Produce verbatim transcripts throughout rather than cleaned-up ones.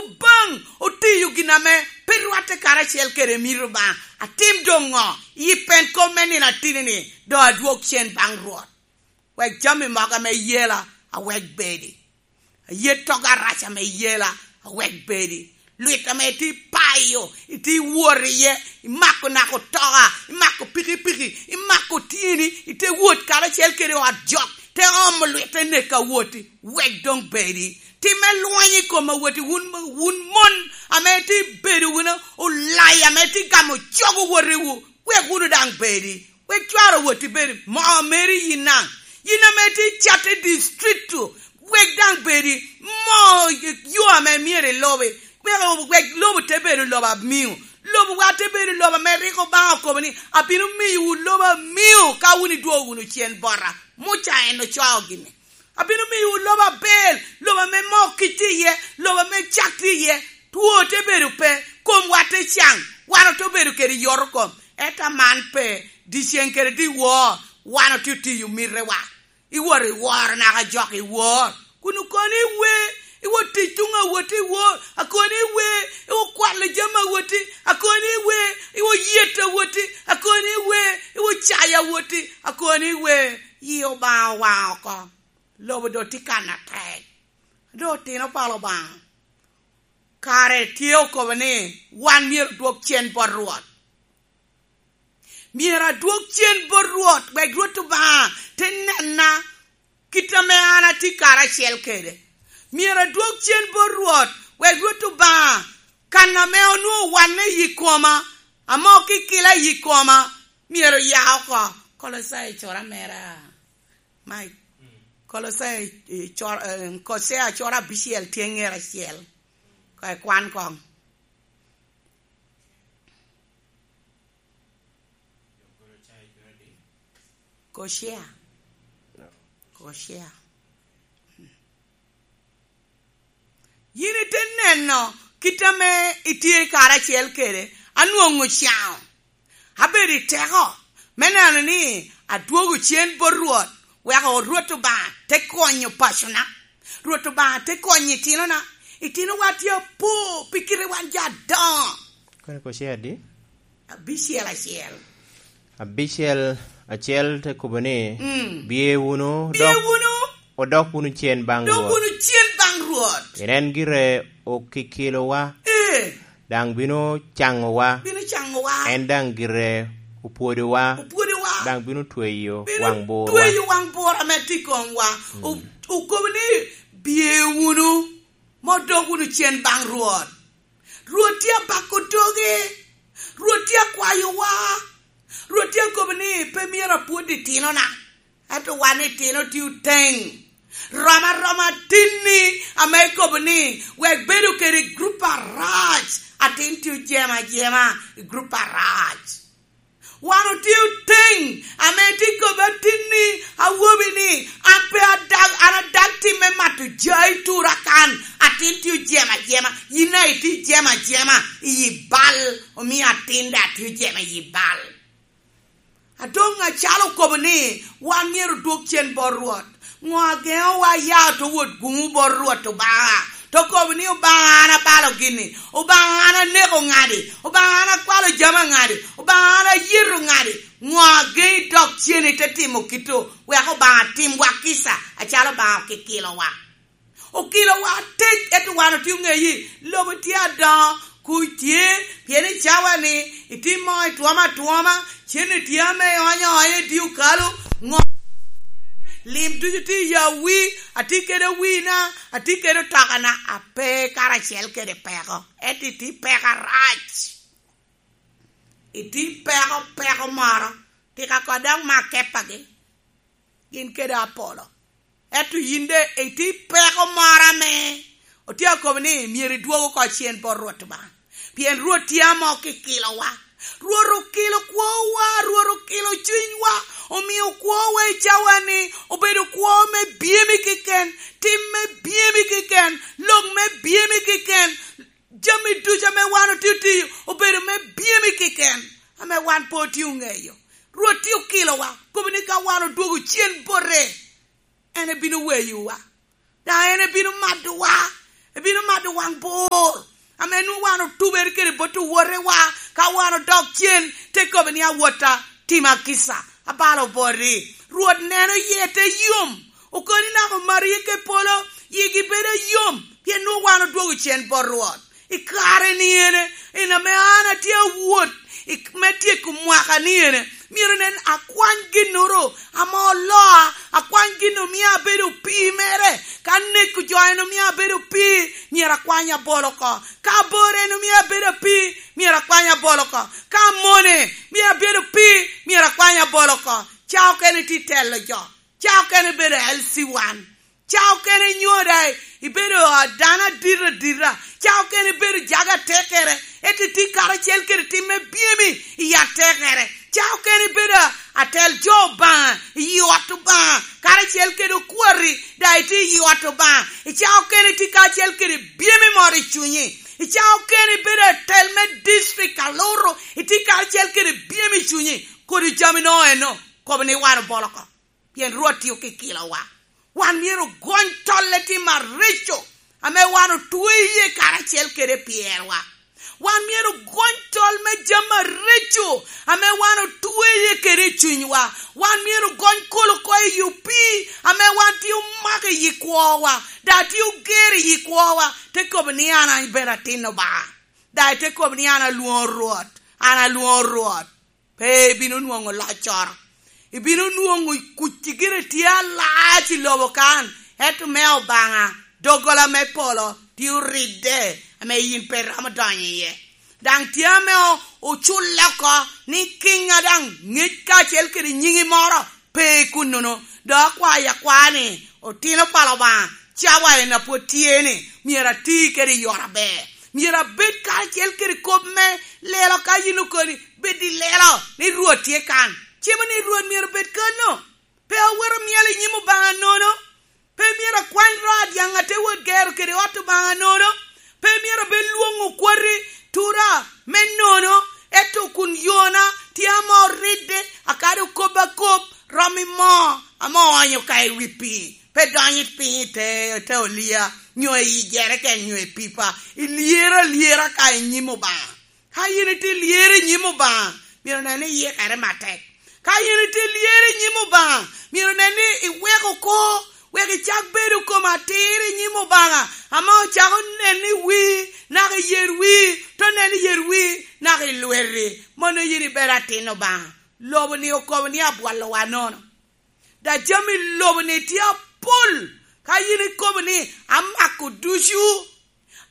Obaŋ otiyo gin ame pe rwatte karacel kede mito Obaŋa. Atim doŋ ŋo? I pen kop me nino atini-ni, doŋ adwog cen baŋ Rwot. Wek jami mogo ame yela awek bedi. Aye togo arac ame yela awek bedi. Lwit ame itye payo, itye wot iye, imako nako toka, imako pikipiki, imako tyeni, ite wot karacel kede ot jok, te omo lwit te neko awoti, wek doŋ bedi. Timme lweny i kom awoti, wun, wun mon ame itye bedo wunu olai, ame itye gamo cog owotiwu, wek wunu daŋ bedi. Wek cware owot i bedo moo meri yin daŋ. Yin ame itye i catte districto, wek daŋ bedi moo yo ame myero ilubi. Wek, wek lobo te bedo lobo amiŋo. Lobowa te bedo lobo ame rik Obaŋa okobo ni, "Abino miyowu lobo amiŋo ka wun idwogo wunu cen bota." Muca en ocoo gini. "Abino miyowu lobo aber, lobo ame moo kic tye iye, lobo ame cak tye iye." Two te bedo pe, komwa te caŋ, wan ote bedo kede yot oko. Ento aman pe, dyeceŋ kede dyewor, wan otye otiyo mitewa. Iwot iworo naka jok iwor. Kun okoni iwe, iwot tic tuŋ awoti iwor, akoni iwe, iwot kwalo jami awoti, akoni iwe, iwot yet awoti, akoni iwe, iwot cayo awoti, akoni iwe, yi Obaŋa owaŋ oko. Lobo doŋ tye kan atek. Doŋ otino pala Obaŋa. Kare tye okobo ni wan myero odwog cen bot Rwot. Myero adwog cen bot Rwot, wek Rwot Obaŋa te nena kit ame an atye karacel kede. Myero adwog cen bot Rwot, wek Rwot Obaŋa kan ame onwoŋo wanne i yi koma, ame okikila i yi koma, myero oya oko. Kolosai cura mera. Mike. Kolosai, eh, cor-, eh, Kosea coro abicel tye ŋer acel. Ka ikwan koŋ. Kosea. Kosea. Yin ite neno kit ame itye karacel kede, anwoŋo caŋo. Abedo i teko me neno ni adwogo cen bot Rwot, wek Rwot Obaŋa te konyo pacona. Rwot Obaŋa te konyo itinona. Itinowa tye apo pi kite wan jo adoŋo. Kono Kosea adi? Abicel acel. Abicel acel te kobo ni, mm, "Bye wunu, bye dok wunu, odok wunu cen baŋ dok Rwot. Wunu cen baŋ Rwot. Pien en gire okikilowa, ee, daŋ bino caŋowa. Bino caŋowa. En daŋ gire opwodowa. Opwodowa. Daŋ bino tweyo, bino waŋ burwa. Tweyo waŋ bur ame tye i komwa." Mm. O-, okobo ni, "Bye wunu, ma odok wunu cen baŋ Rwot." Rwot tye abako doge. Rwot tye akwayowa. Rwot tye akobo ni pe myero apwod itinona. Ento wan itino tye oteŋ. Rom aroma atinni ame ikobo ni wek bedo kede i gurup arac. Atin tye ojemo ajema i gurup arac. Wan otye oteŋ ame tye kobo atinni, awobi ni, "An pe adag, an adag tim me mato jai tura kan, atin tye ojemo ajema." Yin daŋ itye ijemo ajema i yi bal, omio atin daŋ tye ojemo i yi bal. A doŋ acalo okobo ni wan myero odwog cen bot Rwot. Ŋo ageŋowa ya to wot guŋu bot Rwot Obaŋa? To kobo ni, "Obaŋa, an abalo gini. Obaŋa, an aneko ŋadi. Obaŋa, an akwalo jami aŋadi. Obaŋa, an ayeto ŋadi." Ŋo ageŋi dok cen ite timo kito, wek Obaŋa timwa kica acalo Obaŋa okikilowa? Okilowa atek, ento wan otye oŋeyo ni lobo tye adoŋo, kuc tye, pien i cawa-ni itye moo itwomo atwoma, cen-ni tye ame ionyo aonya i dye okalo, ŋo-, lim ducu tye i yawi, atye kede wina, atye kede otokana, ape karacel kede peko, ento itye peko arac. Itye peko, peko moro, tika ko dok mak kepagi. Gin kede apolo. Ento yin de itye i peko moro ame otye akobo ni myero idwog oko cen bot Rwot Obaŋa. Pien Rwot tye ame okikilowa. Rwot okilo kwowa, Rwot okilo cunywa, omio kwowa i cawa-ni obedo kwo me byemi keken, tim me byemi keken, lok me byemi keken, jami ducu ame wan otye otiyo obedo me byemi keken, ame wan pe otye oŋeyo. Rwot tye okilowa, kobo ni ka wan odwogo cen bote, en ebino weyowa, daŋ en ebino madowa, Bino mado waŋ bor, ame nwoŋo wan otubere kede bot owotewa, ka wan odok cen, te kobo ni, "Awotta, tima kica, abalo boti." Rwot neno yie te yom, okoni naka omaro yie ke polo, yigi bedo yom, pien nwoŋo wan odwogo cen bot Rwot. I kare ni ene, en ame an atye awot i, me tyeko mwaka ni ene, myero nen akwany ginnoro ame oloa, akwany gin omio abedo pii mere. Ka neko jo en omio abedo pii, myero akwany abolo oko. Ka abor en omio abedo pii, myero akwany abolo oko. Ka amone mio abedo pii, myero akwany abolo oko. Ca okene tye telo jo. Ca okene bedo L C one. Ca okene inyo daŋ ibedo dano adito adita. Ca okene ibedo jaga atekere. Ento itye karacel kede tim me byemi i atekere. Ca okene ibedo atel jo Obaŋa i ot Obaŋa, karacel kede okwati daŋ itye i ot Obaŋa. I ca okene itye karacel kede byemi moro i cunyi. I ca okene ibedo atel me district Aluru, itye karacel kede byemi i cunyi. Kodi jami no eno, kobo ni wan obolo oko. Pien Rwot tye okikilowa. Wan myero ogony tol i tim areco ame wan otwe iye karacel kede pyerwa. Wan myero ogony tol me jami areco ame wan otwe iye kede i cunywa. Wan myero ogony kolo oko i opii ame wan tye omako i yi kwowa, daŋ tye oger i yi kwowa, te kobo ni, "An, an bene atin Obaŋa." Daŋ ite kobo ni, "An alwoŋo Rwot, an alwoŋo Rwot." Pe ibino nwoŋo loccoro. Ibino nwoŋo kuc gire tye alac i lobo kan, ento me Obaŋa, doggola me polo tye oridde, ame yin pe iromo donyo iye. Daŋ tye ame o-, oculle oko ni kiŋa daŋ ŋec kacel kede nyiŋi moro pe i kunnono. Dok akwayo akwa ni, otino pa Obaŋa, cawa en a pwod tye ni, myero ati kede i ot aber. Myero abed karacel kede kop me lelo ka yin okoni, bed i lelo ni Rwot tye kan. Cimo ni Rwot myero bed kanno. Pe awero myel i nyim Obaŋa nono. Pe myero akwany ro adyaŋ ate wot gero kede ot Obaŋa nono. Pe myero abed lwoŋo kwoti tura me nono, ento kun yona tye ame oridde, akado kop akop, rom i moo ame oonyo ka i wi pii, pe donyo i piny i te, te olia, nyo i jereken, nyo i pipa. Ilyero alyera ka i nyim Obaŋa. Ka yin itye lyero i nyim Obaŋa, myero nen ni iyikere matek. Ka yin itye lyero i nyim Obaŋa, myero nen ni iweko oko, wek icak bedo kom atir i nyim Obaŋa, ame ocako nen i wii, naka i yer wii, te nen i yer wii, naka i lweti. Mano yin ibedo atin Obaŋa. Lobo-ni okobo ni abwolowa nono. Da jami lobo-ni tye apol. Ka yin ikobo ni, "Amako ducu,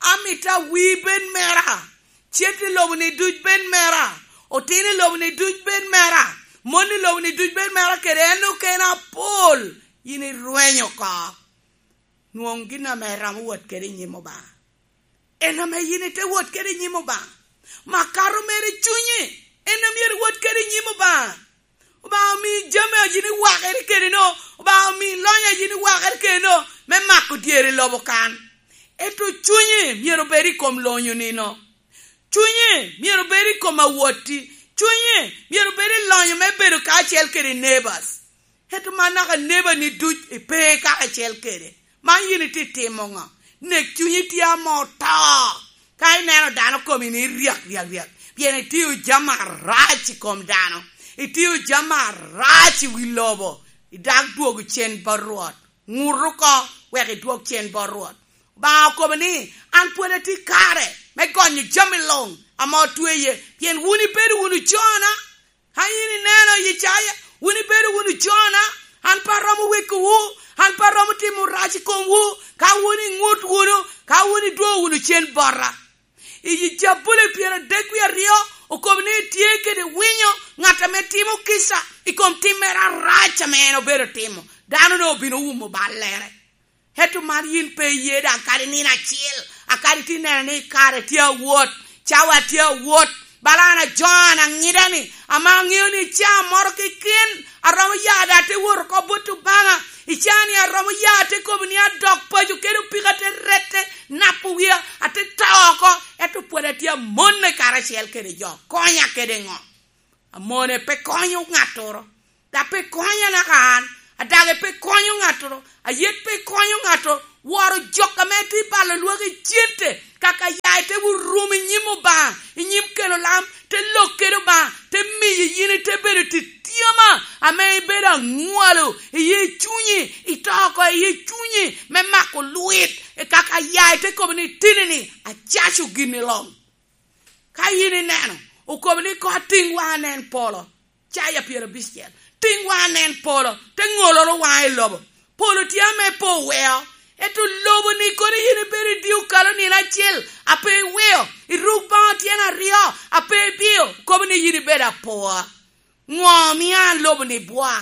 amito awi bed mera, cet i lobo-ni duc bed mera, otin i lobo-ni duc bed mera, mon i lobo-ni duc bed mera, kede en okene apol," yin irwenyo oko. Nwoŋ gin ame iromo wot kede i nyim Obaŋa. En ame yin ite wot kede i nyim Obaŋa. Makato mere i cunyi, en ame myero iwot kede i nyim Obaŋa. Obaŋa omi jami a yin iwakere kede-no, Obaŋa omi lony a yin iwakere kede-no, me mako dyere i lobo kan. Ento cunyi myero obed i kom lonyo nino. Cunyi myero obed i kom awotti. Cunyi myero obed i lonyo me bedo kacel kede neighbors. Ento man naka neba-ni duc ipe karacel kede. Man yin itye timo ŋo? Nek cunyi tye ame oto. Ka ineno dano komi ni ryek, ryek, ryek, pien itio jami arac i kom dano, itio jami arac i wi lobo, idak dwogo cen bot Rwot. Ŋut oko wek idwog cen bot Rwot. Obaŋa okobo ni, "An pwod atye kare me gonyo jami luŋ ame otweye, pien wun ibedo wunu jona." Ka yin ineno Icaya, wun ibedo wunu jona, an pe aromo wekowu, an pe aromo timo rac i komwu, ka wun iŋut wunu, ka wun idwogo wunu cen bota. I Jabuli pyeradek wie aryo okobo ni, "Etye kede winyo ŋat ame timo kica i kom tim mere arac ame en obedo timo, dano-nu obino wumo ballere." Ento man yin pe iye daŋ kadi nino acel, a kadi tye neno ni kare tye awot, cawa tye awot, bala an ajoŋo an aŋida-ni, ame aŋeo ni ca moro keken aromo ya daŋ te wot oko bot Obaŋa, i ca-ni aromo ya te kobo ni adok paco kede opika te rette, napo wia, ate to oko, ento pwod atye amone karacel kede jo. Konya kede ŋo? Amone pe konyo ŋattoro, dok pe konya naka an, adage pe konyo ŋattoro, ayet pe konyo ŋattoro, Woro jok ame tye balo lwak i cente, kaka ya ite wurum i nyim Obaŋa, i nyim kelo lam, te lok kede Obaŋa, te miyo yin ite bedo tityoma, ame ibedo aŋwalo i yi cunyi, ito oko i yi cunyi me mako lwit, i kaka ya ite kobo ni, "Tini-ni acaco gin i lom." Ka yin ineno, okobo ni, "Koŋ atiŋ waŋa anen polo." Caya pyerabicel. Tiŋ waŋa anen polo, te ŋoloro waŋa i lobo. Polo tye ame pe oweo, ento lobo-ni kono yin ibedo i dye okalo nino acel, a pe iweo, iruk baŋa tyen aryo, a pe ibiyo, kobo ni yin ibedo apua. Ŋo omio an lobo-ni bwa?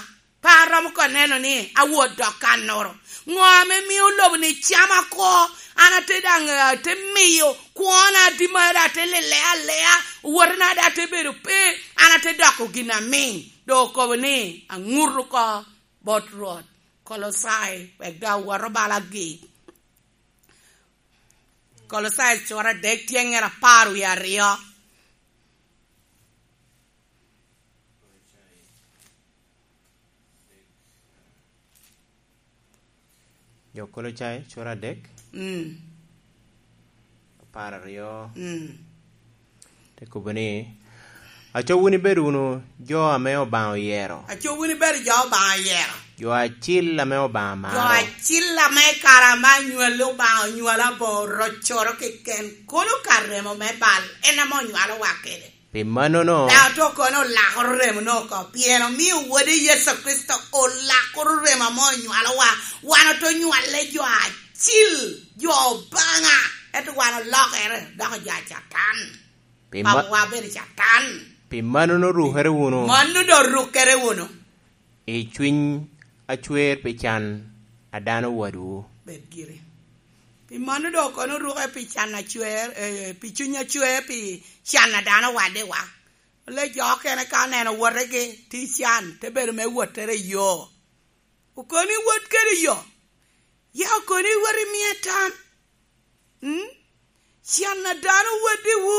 Pe aromo ka neno ni awot dok kannoro. Ŋo ame mio lobo-ni cama oko? An ate daŋ, eh, ate miyo kwona adi mara, ate lele alea, wotena daŋ ate bedo pe, an ate doko gin amiŋ. Doŋ okobo ni, "Aŋuto oko bot Rwot." Kolocai, wek daŋ awot obalo agik. Kolocai cura adek tye ngira apar wie aryo. Jo Kolocai, cura adek, Mm. apar aryo. Mm. Te kobo ni, "Aco wun ibedo wunu jo ame Obaŋa oyero." Aco wun ibedo jo Obaŋa oyero. Jo acil ame Obaŋa maro. Jo acil ame kara ame anywalli Obaŋa onywalo aboŋo rocoro keken, kono ka remo me bal, en ame onywalowa kede. Pi mannono, Daŋ to kono olakoro remono oko, pien omio Wode Yecu Kricito olakoro remo ame onywalowa. Wan ote nywale jo acil, jo Obaŋa, ento wan olokere, doko jo a Catan. Pi ma-, Papawa bedo Catan. Pi mannono rukere wunu. Mano doŋ rukere wunu. I cwiny acwer pi can a dano wadwu. Bed giri. Pi mano doŋ kono oruke pi can acwer, eh, pi cuny acwer pi can a dano waddiwa. Le jo okene ka oneno wotegi tye i can, te bedo me wottere i yo. Okoni wot kede i yo. Ya okoni wot i miye tam. Mm? Can a dano waddiwu,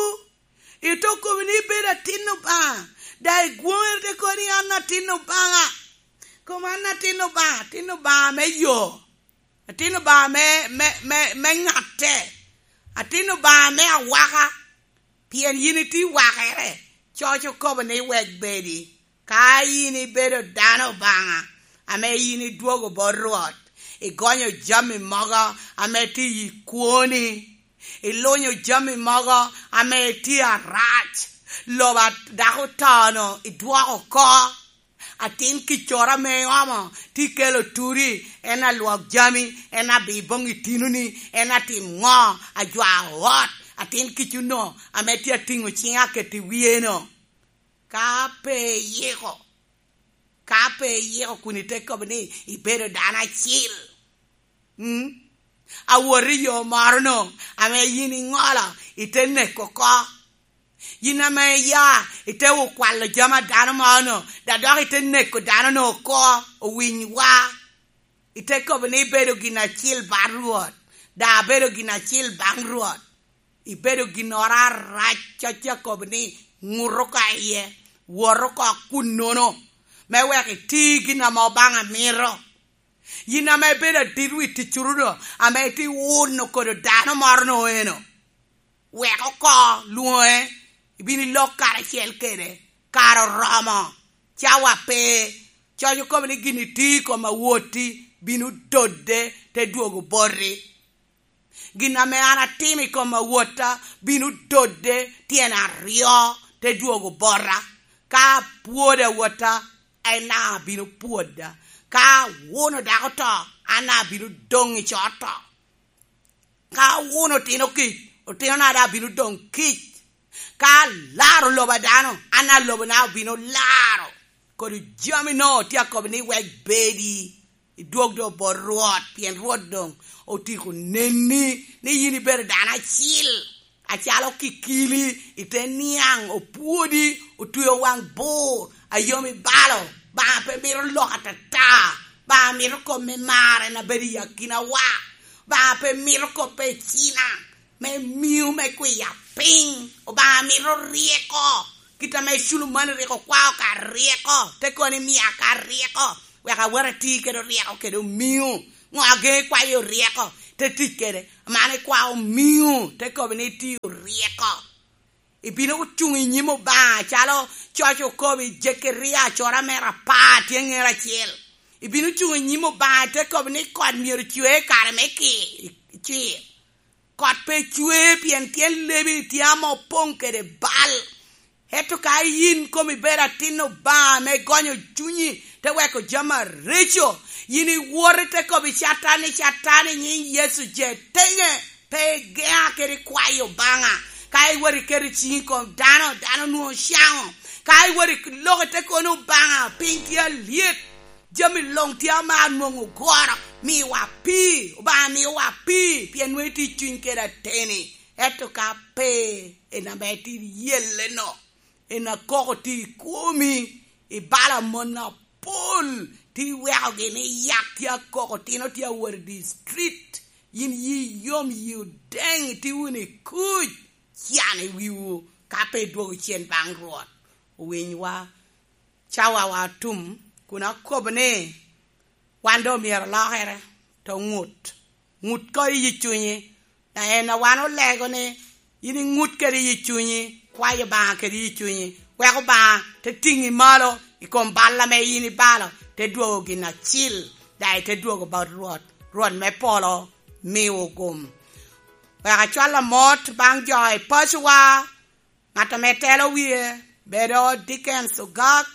ite okobo ni ibedo atin Obaŋa, daŋ igwoŋere te kobo ni an atin Obaŋa. Kom an atin Obaŋa, atin Obaŋa me yo, atin Obaŋa me, me, me, me ŋatte, atin Obaŋa me awaka, pien yin itye wakere, coc okobo ni wek bedi. Ka yin ibedo dano Obaŋa, ame yin idwogo bot Rwot, igonyo jami mogo ame tye i kwoni, ilunyo jami mogo ame tye arac, lobo a dako oto-nu idwoko oko, atin kiccoro ame iomo tye kelo turi, en alwok jami, en abi boŋ itinoni, en atim ŋo, ajwao ot, atin kic-nu ame tye atiŋo ciŋa aketo i wiye-nu. Ka pe iyiko, ka pe iyiko kun ite kobo ni ibedo dano acil, mm? Awot i yo moro-nu ame yin iŋolo, ite neko oko. Yin ame iya, ite okwalo jami a dano moro-nu, daŋ dok ite neko dano-nu oko, owiny wa. Ite kobo ni ibedo gin acil baŋ Rwot, daŋ abedo gin acil baŋ Rwot. Ibedo ginnoro arac, coc akobo ni ŋut oko iye, wot oko kunnono, me wek iti gin ame Obaŋa mito. Yin ame ibedo adit wi ticcuruno, ame itye wuno kodo dano moro-nu eno, wek oko lwoŋe, ibino ilok karacel kede, kare oromo, cawa pe, coc okobo ni gin itye i kom awotti bino dodde te dwogo boti. Gin ame an atimo i kom awotta bino dodde tyen aryo te dwogo bota. Ka apwodo awotta, en daŋ abino pwoda. Ka awuno dako to, an daŋ abino doŋ i coto. Ka awuno otino kic, otinona daŋ abino doŋ kic. Ka alaro lobo a dano, an daŋ lobona obino laro. Kodi jami-nu tye akobo ni wek bedi. Idwog doŋ bot Rwot, pien Rwot doŋ otyeko neni ni yin ibedo dano acil, acalo kikili, ite niaŋ, opwodi, otweo waŋ bur, a yom i balo. Obaŋa pe mito lok atata. Obaŋa mito kop me mar, en a bedo i akinawa. Obaŋa pe mito kop me cina, me miu, me kwiya piny. Obaŋa mito ryeko, kit ame Culumani rik okwao ka ryeko, te kono ni, "Mia ka ryeko, wek awot ati kede ryeko kede omiu." Ŋo ageŋo ikwayo ryeko? te tic kede. Man ikwao miŋo, te kobo ni itio ryeko. Ibino cuŋ i nyim Obaŋa, calo coc okobo i Jekeria, acora mere apar tye ŋero acel. Ibino cuŋ i nyim Obaŋa, te kobo ni kot myero cwe i kare me ki-, cwer. Kot pe cwe, pien tyen lebi tye ame opoŋ kede bal. Ento ka yin komi bedo atin Obaŋa ame gonyo cunyi, te weko jami areco, yin iwot ite kobo i Catan ni, "Catan, i nyiŋ Yecu je teŋe, pe igeŋa kede kwayo Obaŋa." Ka iwot iketo ciŋi i kom dano, dano nwoŋo caŋo. Ka iwot iloko ite kono Obaŋa, piny tye alyet. Jami luŋ tye ame anwoŋo ogoro, miwa pii, Obaŋa miwa pii, pien nwoŋo itye i cuny kede ateni. Ento ka pe, en ame itye iyelle-no, en akoko tye i kwomi, ibalo amon apol, tye iwekogi ni yak tye akoko, tino tye awot i street, yin yi yom, yi odeŋ, itye wunu i kuc, can i wiwu, ka pe idwogo cen baŋ Rwot. Owinywa. Cawawa otum, kun akobo ni wan doŋ myero olokere, te ŋut. Ŋut ko i yi cunyi. Na en a wan olego ni yin iŋut kede yi cunyi, kwayo Obaŋa kede yi cunyi, wek Obaŋa te tiŋi malo i kom bal ame yin ibalo, te dwogo gin acil, daŋ ite dwogo bot Rwot. Rwot me polo miwu gum. Wek acwal amot baŋ jo i pacowa, ŋat ame telo wie bedo Dickens Ogak,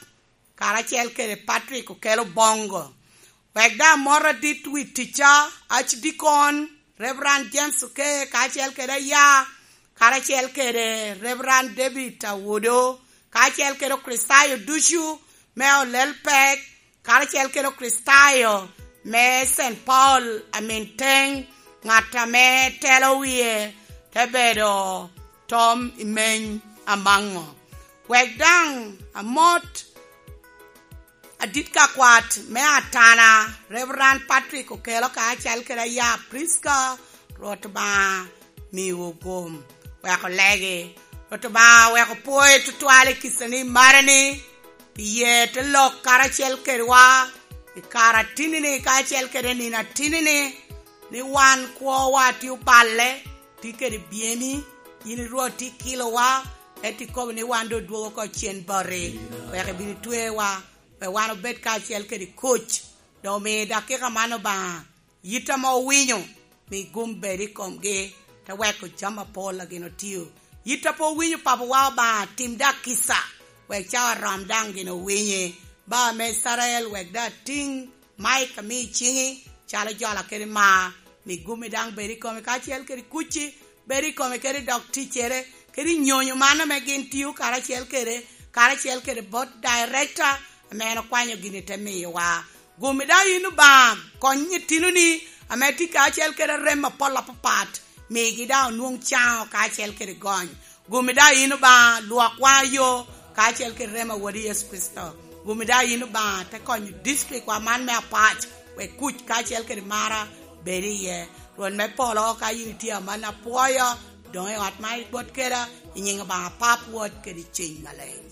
karacel kede Patrick Okello Bongo. Wek daŋ amot adit wi ticca, Archdeacon Reverend James Oke, karacel kede aya, karacel kede Reverend David Awodo, karacel kede Okricitayo ducu me Olel Pek, karacel kede Okricitayo me Saint Paul Aminteng, ŋat ame telo wie te bedo Tom Imeny Amaŋo. Wek daŋ amot adit ka kwat me Atana, Reverend Patrick Okello, kacel kede aya Prisca, Rwot Obaŋa miwu gum, wek olegi. Rwot Obaŋa wek opwoye tutwal i kicani marani, pi ye te lok karacel kedwa i kare atinni-ni kacel kede nino atinni-ni, ni wan kwowa tye oballe, tye kede byeni, yin i Rwot tye kilowa, ento ikobo ni wan doŋ odwogo oko cen boti, wek ibin itwewa, wek wan obed kacel kede kuc. Doŋ omi dakika man Obaŋa, yit ame owinyo, mi gum bed i komgi, te weko jami apol a gin otio. Yit a pe owinyo, Papawa Obaŋa, tim daŋ kica, wek cawa rom daŋ gin owinyi. Ba me Icrael, wek daŋ atiŋ Mike ami i ciŋi, calo jola kede mar, mi gumi daŋ bed i kome, kacel kede kucci, bed i kome kede dok ticcere, kede nyonyo man ame gin tio karacel kede, karacel kede bot director, ame en okwanyo gini te miyowa. Gumi daŋ yin Obaŋa, kony itinoni ame tye kacel kede rem apol apapat, migi daŋ onwoŋ caŋo kacel kede gony. Gumi daŋ yin Obaŋa, lwok waŋ ayo kacel kede rem a Wodi Yecu Kricito. Gumi daŋ yin Obaŋa, te konyo districtwa man me Apac, wek kuc kacel kede mara bed iye. Rwot me polo, ka yin itye amanni apwoyo, doŋ i ot man ibot keda, i nyiŋ Obaŋa Pap, Wod kede Ceny Maleng.